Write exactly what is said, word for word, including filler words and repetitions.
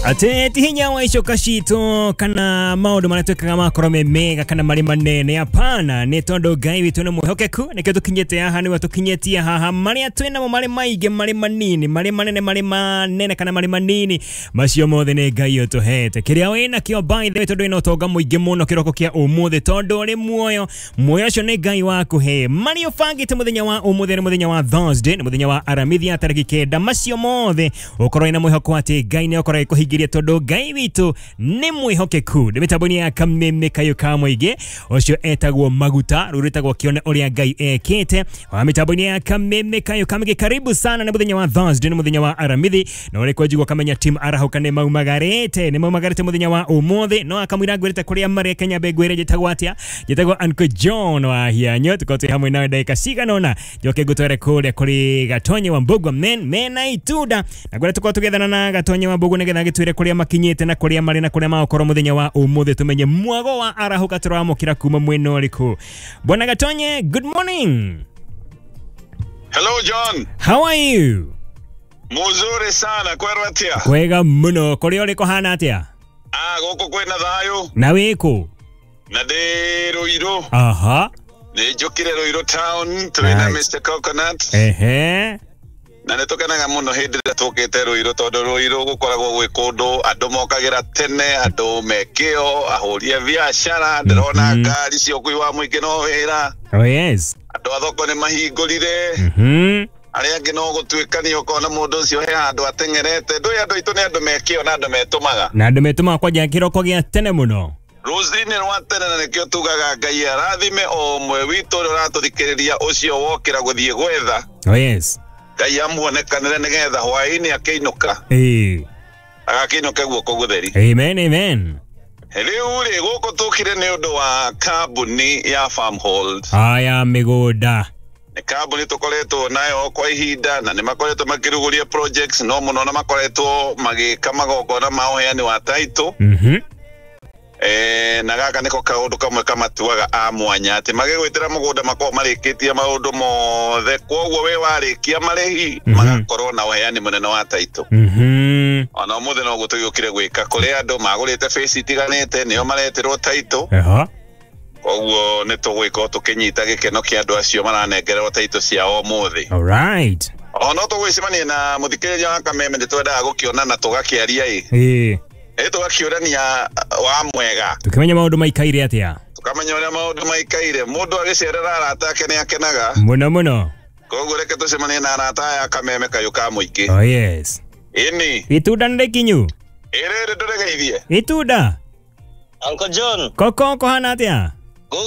Ate ti hinya wa icoka citũ kana maũndũ marĩa twĩkaga makorwo me mega kana marĩ manene, hapana, nĩ tondũ Ngai witũ nĩ mwĩhokeku, nĩkĩo tũkinyĩte haha, nĩwe tũkinyĩtie haha. Marĩa twĩ namo marĩ maingĩ, marĩ manini, marĩ manene, marĩ manene kana marĩ manini, macio mothe nĩ Ngai ũtũhete. Kĩrĩa wĩ nakĩo, by the way, tondũ wĩna ũtonga mũingĩ mũno kĩroko kĩa ũmũthĩ, tondũ ũrĩ muoyo, muoyo ũcio nĩ Ngai wakũhe. Marĩa ũbangĩte mũthenya wa ũmũthĩ nĩ mũthenya wa Thursday, nĩ mũthenya wa Aramithi ya tarĩki kenda, macio mothe ũkorwo wĩna mwĩhoko atĩ Ngai nĩ akorwo agĩkũhingĩria, tondũ Ngai witũ nĩ mwĩhokeku. Nĩ mĩtambo-inĩ ya Kameme Kayũ ka Mũingĩ, ũcio etagwo Maguta, rũu rwĩtagwo Kĩone Ũrĩa Ngai Ekĩte, wa mĩtambo-inĩ ya Kameme Kayũ ka Mũingĩ. Karibu sana, nĩ mũthenya wa Thursday, nĩ mũthenya wa Aramithi, na ũrĩ kwanjigua kamenya team arahũka nĩ maumagarĩte, nĩ maumagarĩte mũthenya wa ũmũthĩ. No akamwĩra ngwĩrĩte kũrĩa marĩ Kenya mbe ngwĩre njĩtagwo atĩa, njĩtagwo Uncle John wa Hianyo, tukorwo twĩ hamwe nawe ndagĩka cigana ũna, njoke ngũtware kũrĩa kũrĩ Gatonye wa Mbũgua men mena itunda, na ngwĩra tukorwo tũgethana na Gatonye wa Mbũgua nĩgetha agĩtwĩre kũrĩa makinyĩte na kũrĩa marĩ na kũrĩa magũkorwo mũthenya wa ũmũthĩ, tũmenye mwago wa arahũka tũramũkĩra kuma mwena ũrĩkũ. Bwana Gatonye, good morning. Hello John. How are you? Muzuri sana, kwerwo atia? Kwega mũno, kũrĩa ũrĩ kũhana atĩa? Ah, gũkũ kwĩna thayũ. Na wĩkũ? Na ndĩ Ruiru. Aha. Nĩ njũkire Ruiru town, twĩna Nice. Mister Coconut. Ehe. Na nĩ tũkenaga mũno hĩndĩ ĩrĩa tũkĩte Ruiru, tondũ Ruiru gũkoragwo gwĩ kũndũ andũ mokagĩra tene, andũ me kĩo, ahũri a biacara, ndĩrona Mhm. ngari cia ũkui wa mũingĩ no wĩra. Oh yes. Andũ a thoko nĩ mahingũrire. Mhm. Arĩa angĩ no gũtuĩkania ũkona mũndũ ũcio he handũ ateng'erete. Ndũĩ andũ aitũ nĩ andũ me kĩo na andũ metũmaga. Na andũ metũmaga kwanja kĩroko gĩa tene mũno. Rũcinĩ rwa tene, na nĩkĩo tugaga Ngai arathime o ũmwe witũ ũrĩa ũratũthikĩrĩria, ũcio wokĩra gũthiĩ gwetha. Oh yes. Ngai amuonekanĩre nĩgetha hwaĩ-inĩ akĩinũka, Eh. agakĩinũke guoko gũtheri. Amen, amen. Rĩu rĩ, gũkũ tũkire nĩ ũndũ wa kambuni ya Farmhold. Aya mĩgũnda. Nĩ kambuni tũkoretwo nayo kwa ihinda, na nĩ makoretwo makĩrugũria projects no mũno, na makoretwo magĩka magongona ma ũheani wa title. Mhm. Eh, na gaka nĩko kaũndũ kamwe kamatuaga a mwanya, atĩ magĩgwĩtĩra mũgũnda makoragwo marĩkĩtie maũndũ mothe, koguo we warĩkia marĩhi, Mhm. magakorwo na ũheani mũnene wa title. Mhm. Ona ũmũthĩ noguo tũgĩũkire gwĩka, kũrĩ andũ magũrĩte face itiganĩte, nĩo maretĩrwo title. Aha. Koguo nĩ tũgwĩka o tũkĩnyita gĩkeno kĩa andũ acio maranengererwo title ciao ũmũthĩ. All right. O no tũgwĩcemania na mũthikĩrĩria wa Kameme, nĩ twendaga gũkĩonana tũgakĩaria ĩ, Eh. ĩ tũgakĩũrania wa mwega, Tukĩmenya maũndũ maikaire atĩa. Tũkamenya ũrĩa maũndũ maikaire. Mũndũ agĩcerera arata ake nĩ akenaga. Mũno mũno. Koguo reke tũcemanie na arata aya a Kameme Kayũ ka Mũingĩ. Oh yes. Ĩni. Itunda nĩ rĩkinyu. Ĩrĩrĩ ndũregeithie. Itunda. Uncle John. Koko kũhana atĩa?